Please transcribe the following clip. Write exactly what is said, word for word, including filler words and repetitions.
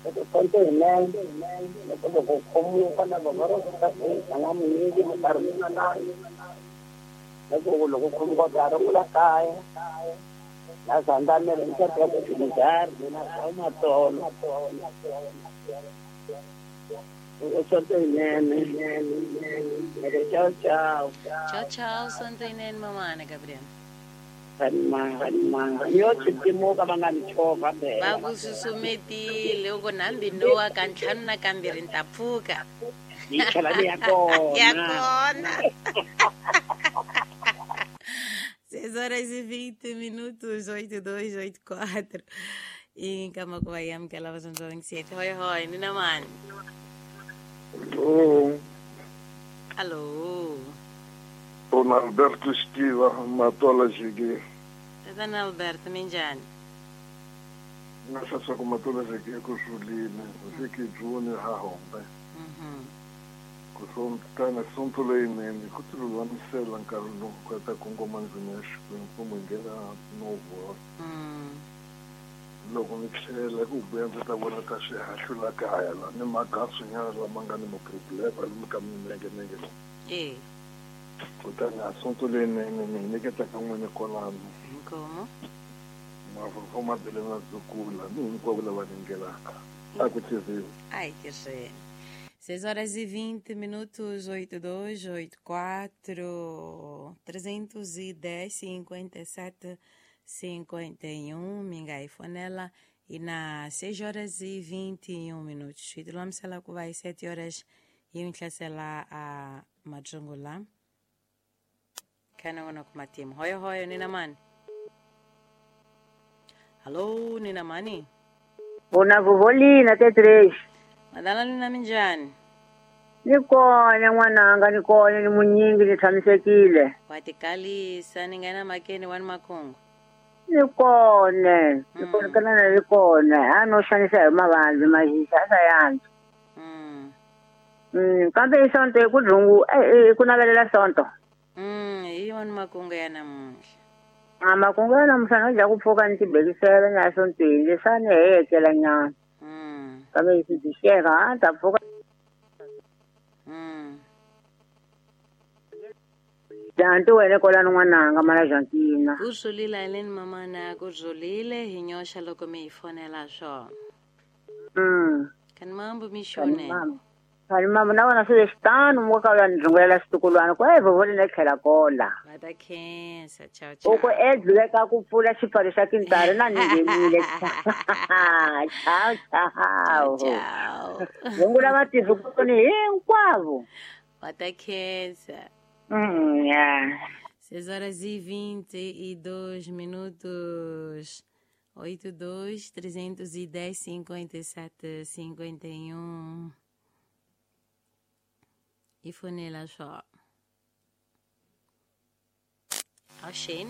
Loko sonto yinene loko loko khomuka na vava ro na munyingi minkarhi yin'wana loko loko khomuka ka ri kula kaya na zandamele ni ya ku tindari na matolo sonto yinene. Tchau, tchau. Tchau, tchau, sonto yinene mamana Gabriel. Yo tsitimuka va nga ni chovha va ku susumetile u ku nambi nowa ka ntlhanu na kambirhi ni ta pfuka ni tlhela ni ya kona ya kona. Seis horas e vinte minutos, oito, dois, oito, quatro. Em Camacuayam, que ela vai sete. Hoi, hoi, Nina Mani. Alô. Alô. Dona Alberto Estiva, Matola Jigui. Dona Alberto, minjani? Nessa só com Matola Jigui, com Julina, você que Júnior Rahombe. Kusomtana assunto leinene, kutululamisela nkarhi lowu ka ta kongoma ndzimi ya Xikwembu kumbe nghena novo. Loko ni tlhela ku vuya ndzi ta vona ta xihahlu la kaya la ni magasunyana lama nga ni maproblema lomu ka minengenenge lowu. Eh. Kutani assunto leyinene ni nyiketa ka n'wini kwalano. Inkomo. Mafurufo ma bele na dzukula ni hinkwavo lava ningelaka. A ku tirhiwi. Ai, que cheio. seis horas e vinte minutos, oito, dois, oito, quatro, trezentos e dez, cinquenta e sete, cinquenta e um, mingai fonela, e na seis horas e vinte e um minutos. E tulamisela ku vai sete horas e um tlhasela a majungula. Kana ngona kumatimu. Hoyo hoyo, nina mani? Alô, nina mani? Bona vovolina, até três. Madala nina minjani? Ni kona n'wananga, ni kona ni munyingi ni tshamisekile. Wa tikalisa ni nghena makeni wa ni makungu. Ni kona, ni kona kana ni kona, a no xanisa hi mavabyi mahisa a sa yantswa. Mm. Mm, kambe i sonto hi ku dzungu, eh ku navelela sonto. Mm, hi wona makungu ya namuntlha. A makungu ya namuntlha no dya ku pfuka ni tibekisela ni ya sontweni leswi a ni heyekela nyana. Mm. Kambe yi swi a ta pfuka. Mm. Janti wena kwalano n'wananga mana Jantina. Ku zulile Ellen mamana, ku zulile hi nyoxa loko mi hi fonela swona. Mm. Kani mambo mixone. Kani mambo na wona swi xitano mo ka ya ndlungulela xitukulwana ku eh vovole ne tlhela kola. Va ta khensa, ciao ciao. U ku edleka ku pfula xipfalo xa tintari na ni nghenile. Ciao ciao. Ciao. Rungula vatirhi hinkwavo. Va ta khensa. Mm, yeah. seis horas e vinte e dois minutos. oito, dois, trezentos e dez, cinquenta e sete, cinquenta e um. E fonela só. Achei.